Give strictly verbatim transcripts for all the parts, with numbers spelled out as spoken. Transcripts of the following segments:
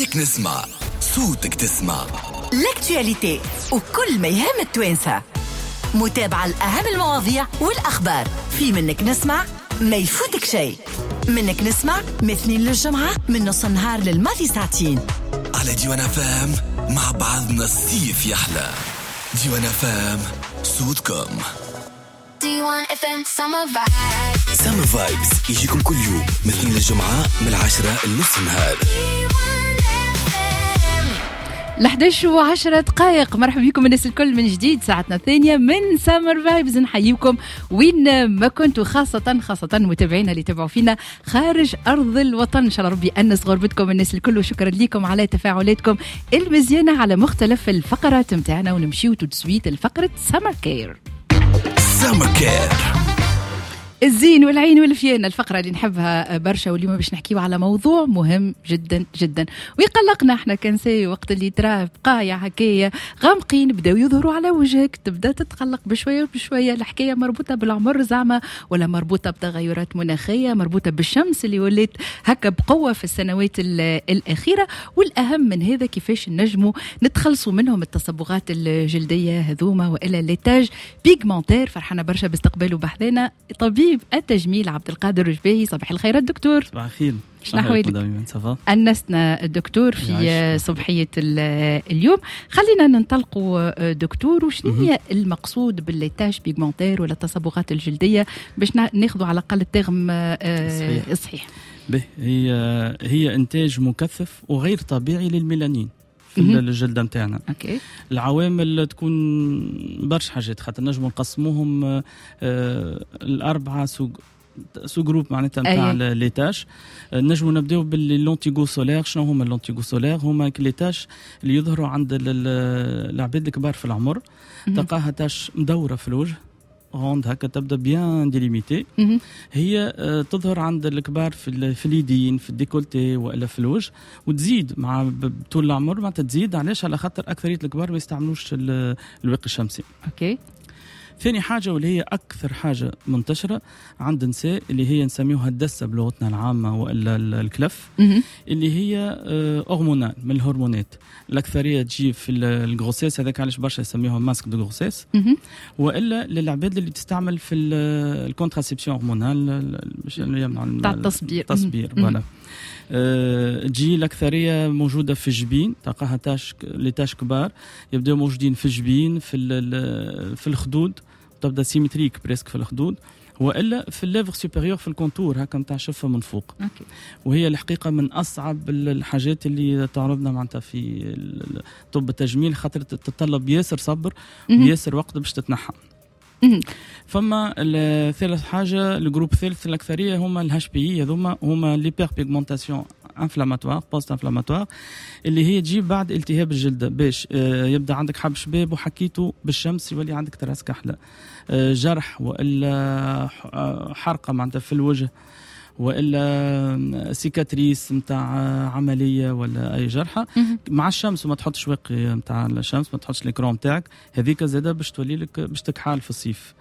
منك نسمع صوتك تسمع l'actualité وكل ما يهم التوانسة، متابعة لأهم المواضيع والأخبار في منك نسمع، ما يفوتك شيء. منك نسمع من اثنين للجمعة من نص النهار للماضي ساعتين على ديوان أف أم. مع بعضنا الصيف يحلى. ديوان أف أم، صوتكم. ديوان اف ام Summer Vibes. Summer Vibes يجيكم كل يوم من اثنين للجمعة من العشرة لنص النهار. ل إحداش وعشرة دقائق، مرحبا بكم الناس الكل من جديد، ساعتنا الثانية من Summer Vibes. نحييكم وين ما كنتوا، خاصة خاصة متابعينا اللي تابعوا فينا خارج أرض الوطن. إن شاء الله ربي يأنس غربتكم الناس الكل، وشكرا لكم على تفاعلاتكم المزيانة على مختلف الفقرات متاعنا. ونمشيو tout de suite لفقرة Summer Care. Summer Care. الزين والعين والفيانة، الفقرة اللي نحبها برشا، واليوم باش نحكيو على موضوع مهم جدا جدا ويقلقنا احنا كنساء. وقت اللي تراه بقايا هكايا غامقين بداو يظهروا على وجهك، تبدا تتقلق بشوية بشوية. الحكاية مربوطة بالعمر زعما، ولا مربوطة بتغيرات مناخية، مربوطة بالشمس اللي ولات هكا بقوة في السنوات الأخيرة؟ والأهم من هذا، كيفاش نجموا نتخلصوا منهم التصبغات الجلدية هذوما وإلا les taches pigmentaires؟ فرحانة برشا باستقباله بحذانا، طبيب التجميل عبد القادر رجباهي. صباح الخير الدكتور. صباح الخير. شنو احوالك؟ أنسنا الدكتور في صبحية اليوم. خلينا ننطلقوا دكتور، وشنو هي المقصود ب les taches pigmentaires ولا التصبغات الجلدية، باش ناخذوا على الأقل ال terme آه، الصحيح؟ به هي هي انتاج مكثف وغير طبيعي للميلانين في الجلدة نتاعنا. okay العوامل تكون برشا حاجات، خاطر نجموا نقسموهم آه الاربعة sous sous-groupes معناتها نتاع les taches. نجموا نبداو ب les lentigos solaires. شنو هما les lentigos solaires؟ هما les taches اللي يظهروا عند العباد الكبار في العمر، تلقاها tache مدورة في الوجه، ronde هكا، تبدا bien délimitée. هي آه، تظهر عند الكبار في في اليدين، في الديكولتي، والا في الوجه، وتزيد مع طول العمر معناتها تزيد. علاش؟ على خاطر اكثرية الكبار ما يستعملوش الواقي الشمسي. okay ثاني حاجة، واللي هي أكثر حاجة منتشرة عند النساء، اللي هي نسميوها الدسة بلغتنا العامة وإلا الكلف، اللي هي hormonale، من الهرمونات. الأكثرية تجي في ال grossesse، هذاك علاش برشا يسميوها masque de grossesse، وإلا للعباد اللي تستعمل في ال contraception hormonale باش يمنع تاع التصبير. التصبير، voilà. أه تجي الاكثرية موجودة في الجبين، تلقاها taches، les taches كبار يبداو موجودين في الجبين، في في الخدود، تبدا symétrique presque في الخدود، والا في ال lèvre supérieure، في ال contour هكا نتاع شفه من فوق. okay. وهي الحقيقة من اصعب الحاجات اللي تعرضنا معناتها في طب التجميل، خاطر تتطلب ياسر صبر وياسر وقت باش تتنحى. فما ثالث حاجه، ال groupe الثالث، الاكثرية هما ال HPI، هذوما هما l'hyperpigmentation inflammatoire post-inflammatoire، اللي هي تجي بعد التهاب الجلد، باش آه، يبدا عندك حب شباب وحكيته بالشمس يولي عندك trace كحله، آه، جرح والا آه، حرقه معناتها في الوجه، والا cicatrice نتاع عملية ولا اي جرحه مع الشمس، وما تحطش واقي نتاع الشمس، ما تحطش l'écran نتاعك، هذيك زاده باش تولي لك باش تكحال في الصيف.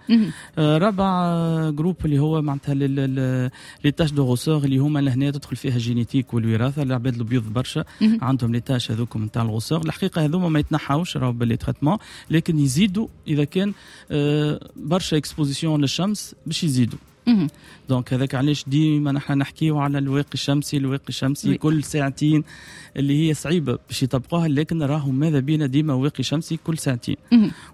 آه رابع groupe اللي هو معناتها les taches de rousseur، اللي هما لهنا تدخل فيها génétique والوراثه. العباد البيض برشا عندهم les taches هذوك نتاع ال rousseur. الحقيقة هذوما ما يتنحاوش راهو ب les traitements، لكن يزيدوا اذا كان آه برشا exposition للشمس باش يزيدوا. donc هذاك علاش ديما نحن نحكيو على الواقي الشمسي، الواقي الشمسي كل ساعتين، اللي هي صعيبة باش يطبقوها، لكن راهو ماذا بينا ديما واقي شمسي كل ساعتين.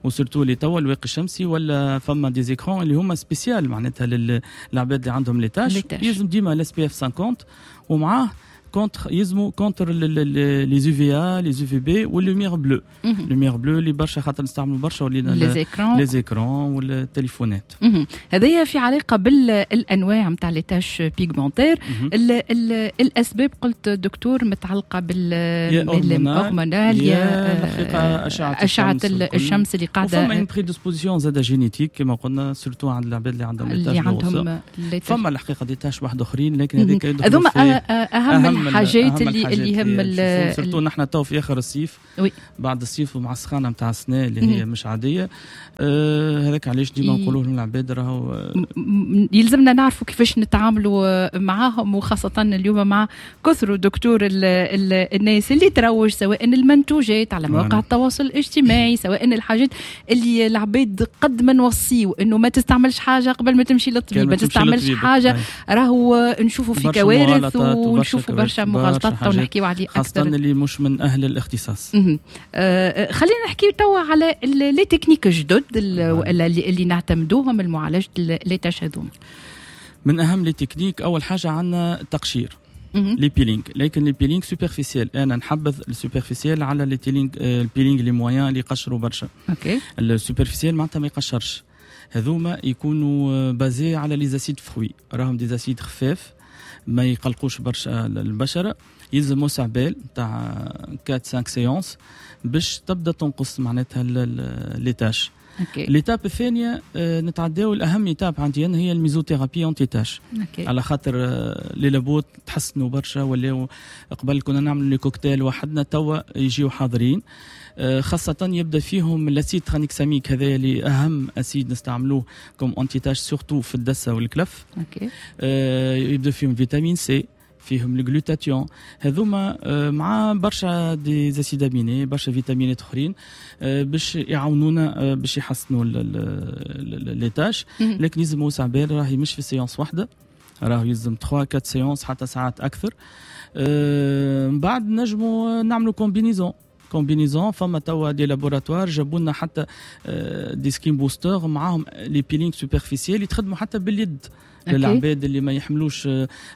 و surtout اللي توا الواقي الشمسي ولا فما des écrans اللي هما spécial معناتها للعباد اللي عندهم les taches، يلزم ديما l'SPF خمسين ومعاه contre، يلزموا contre les UVA، les UVB وال lumière bleue. lumière bleue اللي برشا، خاطر نستعملوا برشا ولينا les écrans. les écrans والتليفونات. هذايا في علاقة بالانواع نتاع les taches pigmentaires. الاسباب قلت دكتور متعلقه بال hormonal، يا الحقيقة اشعه اشعه الشمس اللي قاعده. وفما une prédisposition زاده génétique كما قلنا، surtout عند العباد اللي عندهم اللي عندهم. فما الحقيقة des taches واحد اخرين، لكن هذيك هذوما اهم, أهم الحاجات اللي اللي يهم، surtout نحن تو في اخر الصيف، oui. بعد الصيف ومع السخانه نتاع السنة اللي هي مش عاديه. آه هذاك علاش ديما نقولوا للعباد راهو يلزمنا نعرفوا كيفاش نتعاملوا معاهم، وخاصة اليوم مع كثر دكتور ال ال الناس اللي تروج سواء المنتوجات على مواقع التواصل الاجتماعي، سواء الحاجات اللي العباد قد ما نوصيو انه ما تستعملش حاجة قبل ما تمشي للطبيب، ما تستعملش حاجة، راهو نشوفوا في كوارث ونشوفوا برشا مغالطات تو نحكيو عليه اكثر، خاصة اللي مش من اهل الاختصاص. آه خلينا نحكيو توا على les techniques الجدد اللي, اللي نعتمدوهم لمعالجة les taches هذوما. من اهم les techniques اول حاجة عندنا التقشير، les peelings، لكن les peelings superficiels. انا نحبذ ال superficiel على les peelings، ال peelings les moyens اللي يقشروا برشا. OK. ال superficiel معناتها ما يقشرش، هذوما يكونوا basés على les acides fruits، راهم des acides خفاف ما يقلقوش برشا البشره. يلزم وسع بال تاع أربعة خمسة séances باش تبدا تنقص معناتها les taches. l'étape الثانية نتعداو الاهم étape عندي انا هي ال mésothérapie anti-taches، على خاطر les labos تحسنوا برشا، ولاو قبل كنا نعملوا les cocktails وحدنا، توا يجيو حاضرين، خاصة يبدا فيهم l'acide tranexamique، هذا اللي اهم acide نستعملوه comme anti-tache surtout في الدسه والكلف. OK. يبدا فيهم vitamine C، فيهم الجلوتاتيون، هذوما مع برشا des acides aminés، برشا فيتامينات اخرين باش يعاونونا باش يحسنوا les taches. لكن لازم وسع بال، راهي مش في séance واحده، راهو يلزم ثلاثة أربعة séances حتى ساعات اكثر. من بعد نجموا نعملوا combinaison combinaison فما توا des laboratoires جابوا لنا حتى des skin boosters معاهم les peelings superficiels يتخدموا حتى باليد للعباد اللي ما يحملوش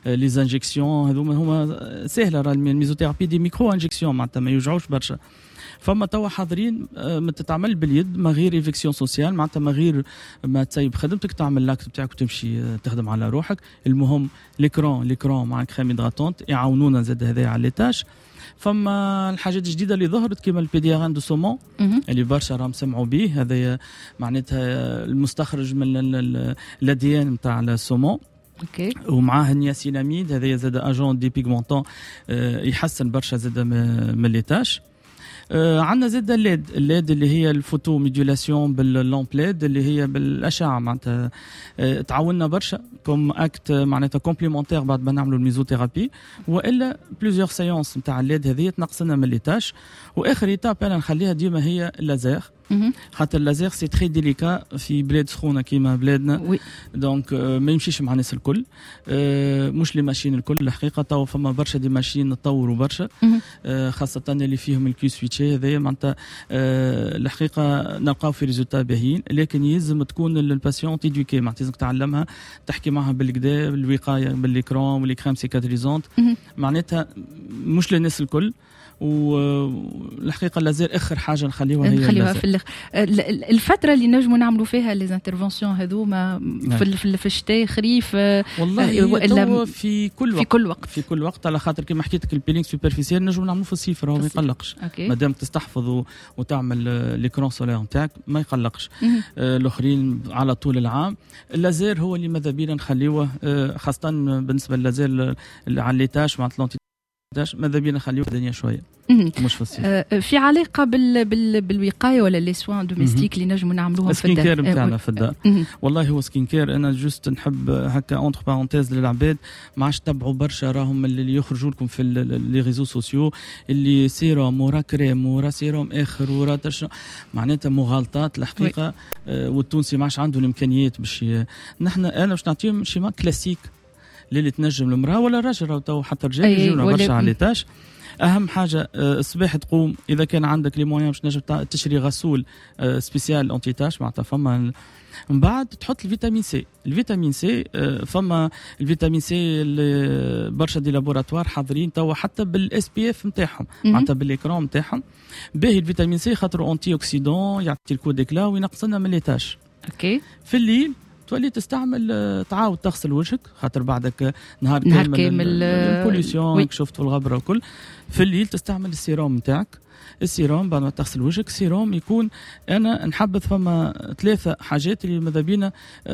les injections هذوما. هما سهلة راه ال mésothérapie des micro-injections، معناتها ما يوجعوش برشا. فما توا حاضرين ما تتعمل باليد ما غير éviction sociale، معناتها ما غير ما تسيب خدمتك، تعمل l'acte بتاعك وتمشي تخدم على روحك. المهم l'écran l'écran مع crème hydratante يعاونونا زاد هذايا على les taches. فما الحاجات الجديدة اللي ظهرت كيما ال PDRN de saumon اللي برشا راهم سمعوا به، هذا معناتها المستخرج من ال ADN نتاع ال saumon. OK. ومعاه النياسيناميد، هذا زاد agent dépigmentant يحسن برشا زاد من les taches. آه عندنا زاد ال LED، ال LED اللي هي ال photomodulation بال lampe LED اللي هي بالاشعه، معناتها آه تعاوننا برشا comme acte معناتها complémentaire بعد ما نعملوا الميزوثيرابي، والا plusieurs séances نتاع ال LED هذه تنقص لنا من les taches. واخر étape انا نخليها ديما هي اللازير، خاطر ال laser c'est très délicat في بلاد سخونة كيما بلادنا، oui. donc ما يمشيش مع الناس الكل، مش les machines الكل الحقيقة. تو فما برشا des machines تطوروا برشا، خاصة اللي فيهم ال Q-switché هذايا، معناتها الحقيقة نلقاو في résultats باهيين، لكن يلزم تكون ال patiente éduquée، معناتها لازمك تعلمها تحكي معها بالكدا، بالوقايه بال écran و les crèmes cicatrisantes، معناتها مش للناس الكل. والحقيقة اللازير اخر حاجة نخليوها هي نخليوها في الاخر. الفترة اللي نجموا نعملوا فيها les interventions هذوما في في, في الشتاء، خريف، والله والا في كل وقت، في كل وقت، في كل وقت، على خاطر كما حكيت لك ال peeling superficiel نجموا نعملوه في الصيف، راهو ما يقلقش مادام تستحفظ وتعمل l'écran solaire نتاعك ما يقلقش. آه الاخرين على طول العام. اللازير هو اللي ماذا بينا نخليوه، آه خاصة بالنسبة لللازير على les taches مع ماذا بينا نخليوه الدنيا شوية مش في الصيف. في علاقة بال بال بالوقايه ولا les soins domestiques اللي نجموا نعملوهم في الدار، skin care نتاعنا في الدار. والله هو skin care انا juste نحب هكا entre parenthèses للعباد ما عادش تبعوا برشا، راهم اللي يخرجوا لكم في les réseaux sociaux اللي سيروم ورا كريم ورا سيروم اخر ورا تش... معناتها مغالطات الحقيقة. آه والتونسي ما عادش عنده الامكانيات باش ي... نحن انا باش نعطيهم schéma classique اللي تنجم المراة ولا الراجل، تو حتى الرجال يجيونا برشا على les taches. اهم حاجة الصباح تقوم اذا كان عندك les moyens باش تنجم تشري غسول spécial anti-taches، معناتها فما من بعد تحط ال vitamine C. ال vitamine C فما ال vitamine C برشا des laboratoires حاضرين توا حتى بال SPF نتاعهم، معناتها بال écran نتاعهم. باهي ال vitamine C خاطر antioxydant يعطي ال coup d'éclat وينقص لنا من les taches. OK. في الليل تولي تستعمل تعاود تغسل وجهك خاطر بعدك نهار كامل, كامل ال pollution شفت الغبرة وكل. في الليل تستعمل السيروم نتاعك. السيروم بعد ما تغسل وجهك، سيروم يكون انا نحبذ فما ثلاثة حاجات اللي ماذا بينا،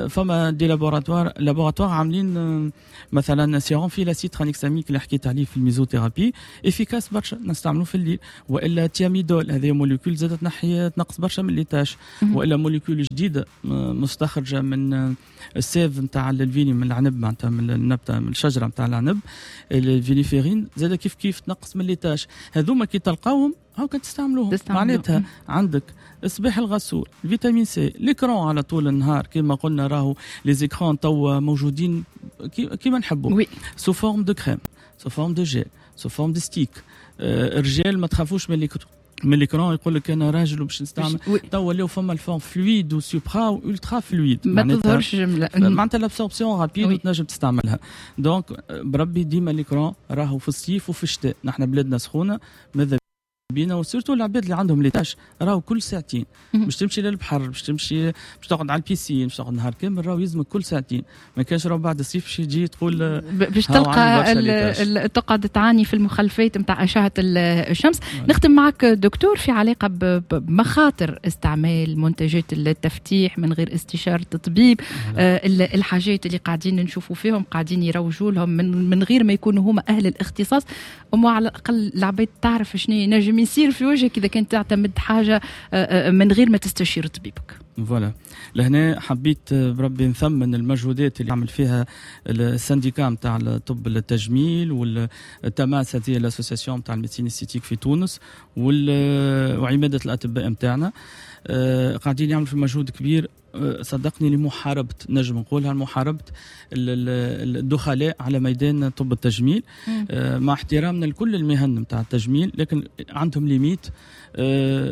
فما des laboratoires laboratoires عاملين مثلا سيروم فيه l'acide tranexamique اللي حكيت عليه في ال mésothérapie، efficace برشا، نستعملوه في الليل. والا thiamidol، هذه molécule زادت تنحي تنقص برشا من les taches. والا molécule جديدة مستخرجه من ال sève نتاع ال vigne، من العنب معناتها، من النبته، من الشجرة نتاع العنب، ال viniférine، زاد كيف كيف تنقص من les taches. هذوما كي تلقاوهم هاكا تستعملوهم. معناتها عندك الصباح الغسول، vitamine C، l'écran على طول النهار كما قلنا، راهو les écrans توا موجودين كيما نحبوا، sous forme de crème، sous forme de gel، sous forme de stick. الرجال ما تخافوش من l'écran، من l'écran، يقول لك انا راجل وباش نستعمل. توا ولاو فما ال forme fluide و supra و ultra fluide، ما تظهرش جمله. معناتها l'absorption rapide وتنجم تستعملها. donc بربي ديما l'écran راهو في الصيف وفي الشتاء، نحن بلادنا سخونه، ماذا بينا و surtout العباد اللي عندهم les taches راهو كل ساعتين. باش تمشي للبحر، باش تمشي، باش تقعد على ال piscine، باش تقعد نهار كامل، راهو يلزمك كل ساعتين. ما كانش راهو بعد الصيف باش تجي تقول باش تلقى تقعد تعاني في المخلفات نتاع اشعه الشمس. نختم معك دكتور في علاقة بمخاطر استعمال منتجات التفتيح من غير استشاره طبيب، آه الحاجات اللي قاعدين نشوفوا فيهم قاعدين يروجوا لهم من من غير ما يكونوا هما اهل الاختصاص، وما على الاقل العباد تعرف شنو ينجم يصير في وجهك اذا كنت تعتمد حاجة آه، آه، من غير ما تستشير طبيبك. voilà، لهنا حبيت بربي نثمن المجهودات اللي عمل فيها ال syndicat نتاع طب التجميل والتماس، هذه l'association نتاع ال médecine esthétique في تونس، وعماده الاطباء نتاعنا، آه، قاعدين يعملوا في مجهود كبير آه، صدقني لمحاربة، نجم نقولها، لمحاربة الدخلاء على ميدان طب التجميل، آه، مع احترامنا لكل المهن نتاع التجميل، لكن عندهم limites،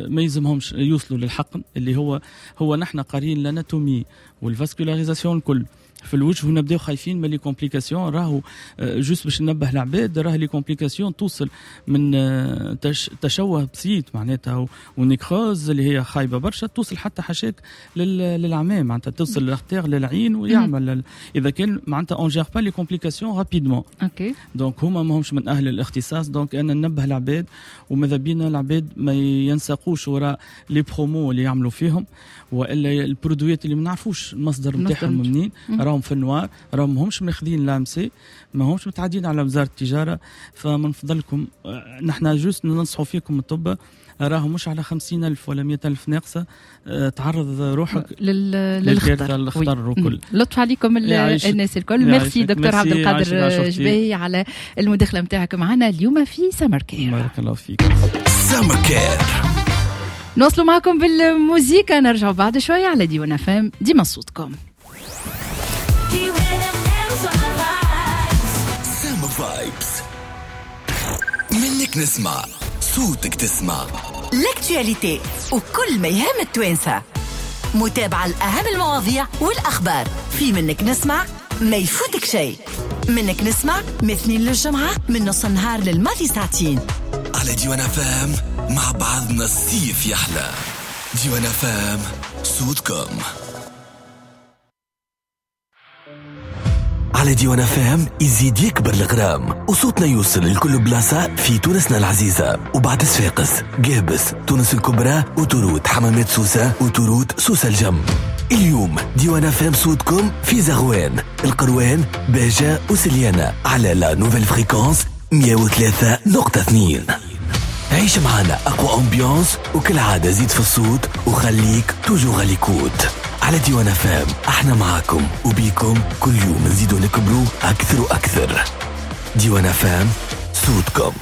ما يلزمهمش يوصلوا للحقن اللي هو هو نحن قارين l'anatomie وال vascularisation الكل في الوجه ونبداو خايفين من les complications. راهو juste باش ننبه العباد، راه les complications توصل من آه، تشوه بسيط معناتها و nécrose اللي هي خايبة برشا، توصل حتى حاشاك للعمى، معناتها توصل لل artère للعين ويعمل اذا كان معناتها on gère pas les complications rapidement. OK donc هما ماهمش من اهل الاختصاص، donc انا ننبه العباد وماذا بينا العباد ما ينساقوش وراء les promos اللي يعملوا فيهم والا ال produit ات اللي ما نعرفوش المصدر نتاعهم منين، راهم في ال noir، راهم ماهمش ماخذين l'AMC، ما همش متعدين على وزارة التجاره. فمن فضلكم آه، نحن juste ننصحوا فيكم الطب، راهو مش على خمسين ألف ولا مئة ألف ناقصة آه، تعرض روحك لل... للخطر الخطر وكل. لطف عليكم الناس الكل. ميرسي دكتور عبد القادر جباي على المداخلة نتاعك معنا اليوم في سمر كير. بارك الله فيك. سمر كير. نوصلوا معكم بالموزيكا، نرجعوا بعد شوية على ديوان أف أم، ديما صوتكم. سما vibes، منك نسمع، صوتك تسمع. l'actualité وكل ما يهم التوانسة، متابعة لأهم المواضيع والأخبار في منك نسمع، ما يفوتك شيء. منك نسمع من اثنين للجمعة من نص النهار للماضي ساعتين على ديوان أف أم. مع بعضنا الصيف يحلى. ديوان أف أم، صوتكم. على ديوان أف أم يزيد يكبر الغرام وصوتنا يوصل لكل بلاصة في تونسنا العزيزة وبعد صفاقس، قابس، تونس الكبرى، autoroute حمامات سوسة، autoroute سوسة الجم. اليوم ديوان أف أم صوتكم في زغوان، القروان، باجة وسليانة على la nouvelle fréquence مية وثلاثة نقطة اثنين. عيش معنا أقوى ambiance، وكالعادة زيد في الصوت وخليك toujours à l'écoute على ديوان أف أم. احنا معاكم وبيكم، كل يوم نزيدو نكبرو أكثر وأكثر. ديوان أف أم، صوتكم.